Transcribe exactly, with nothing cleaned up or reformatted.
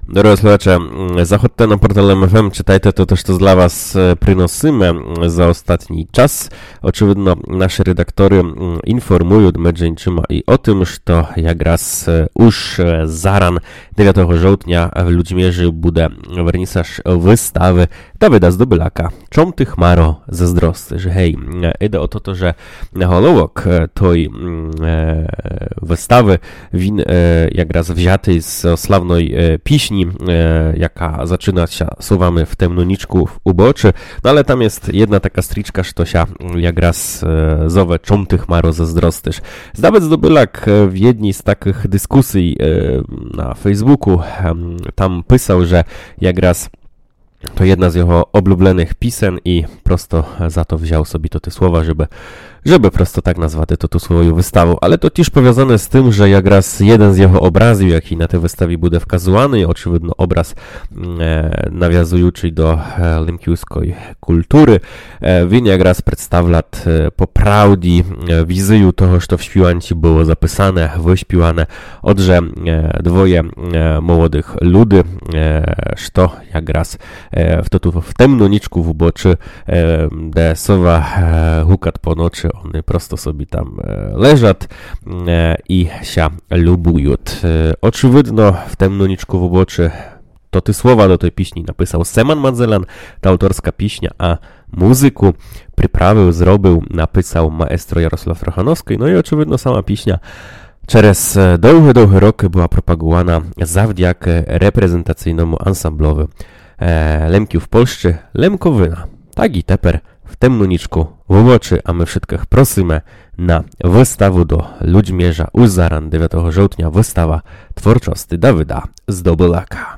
Дорогы слухаче, м, заходте на портал М Ф М, читайте то, што для вас, е, приносиме, м, за остатній час. Очевидно, нашы редакторы, м, інформуют, меджі іншыма, і о тым, што якраз, е, уж, е, заран, девятого жовтня, в Людмірі буде вернісаж выставы Давида Здобыляка «Чом ты, хмаро, заздростиш». Гей, е, іде о то, што заголовок, е, той, м, е, выставы, він, е, якраз взятый з славной, е, пісні, е, яка зачына ся словами «В темну нічку в убочы». Но але там єст єдна така стрічка, што ся, м, якраз, е, зове «Чом ты, хмаро, заздростиш». Давид Здобыляк, е, в єдній з такых дискусій, е, на Фейсбуку, ем, там писав, же якраз то єдна з його облюбленых пісен і просто за то взяв собі тоты слова, жебы, жебы просто так назвати тоту свою выставу. Але то тіж повязане з тым, же якраз єден з його образів, якій на тій выставі буде вказуваный, очевидно, образ, м, е, навязуючый до, е, лемківской культуры, е, він якраз представлят, е, по правді, е, візію того, што в співанці было записане, выспіване. Отже, е, двоє, е, молодых люди, е, што якраз, е, в тоту, в темну нічку в убочы, е, де сова, е, гукат по ночы, они просто собі там, е, лежат, е, і ся любуют. Е, очевидно, «В темну нічку в убочы» тоты слова до той пісні написав Семан Мадзелян, та авторска пісня, а музыку приправив, зробив, написав маестро Ярослав Рохановскій, но і, очевидно, сама пісня через, е, довгы-довгы рокы была пропаґувана завдякы репрезентацийному ансамблови, е, Лемків в Польщы «Лемковина». Так і тепер «В темну нічку в убочы», а мы вшыткых просиме на выставу до Людміра уж заран, девятого жовтня, выстава творчости Давида Здобыляка.